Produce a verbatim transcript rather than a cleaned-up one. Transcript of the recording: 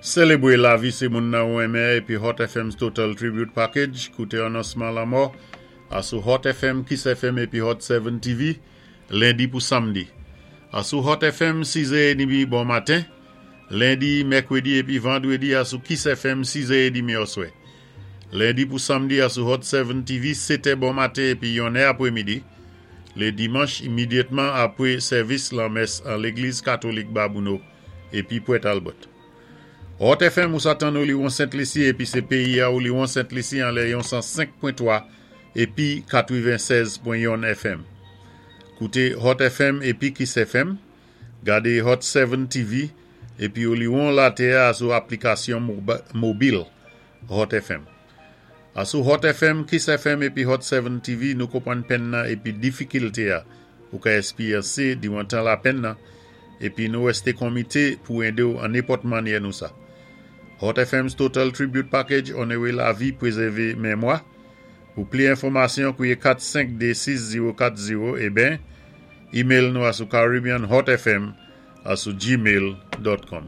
Sélébwé lavi sé moun-nan ou renmen épi Hot F M's Total Tribute Package, kouté anonsman lanmò, asou Hot F M, Kiss F M épi Hot sept T V, lendi pou samdi. Asou Hot F M, sis è edmi bon maten, lendi, mèkwédi épi vandwédi asou Kiss F M, sis è edmi oswè. Lendi pou samdi asou Hot sept T V, sèt è bon maten épi yon è apwémidi. Lé dimanch, imédyatman apwé sèvis lanmès an Légliz Katolik Babouno épi Port Talbot. Hot F M ou sa tann ou liwon Sent Lisi épi sé péyi-a ou liwon Sent Lisi an lè yon san senk pwen twa épi katwennsèz pwen youn F M. Kouté Hot F M épi Kiss F M, gadé Hot sept T V épi ou liwon latè sou aplikasyon mobil Hot F M. Asou Hot F M, Kiss F M épi Hot sept T V, nou konpwann penn-nan épi difikilté-a ou ka èspéryansé diwan tan lapenn-nan épi nou wèsté konmité pou édé-w an nenpòt mannyè nou sa. Hot F M's Total Tribute Package, onoré lavi, pwézèvé mémwa. Pou pli enfòmasyon, kwié kat senk de sis zewo kat zewo é ben, email nou asou caribbeanhotfm asou gmail dot com.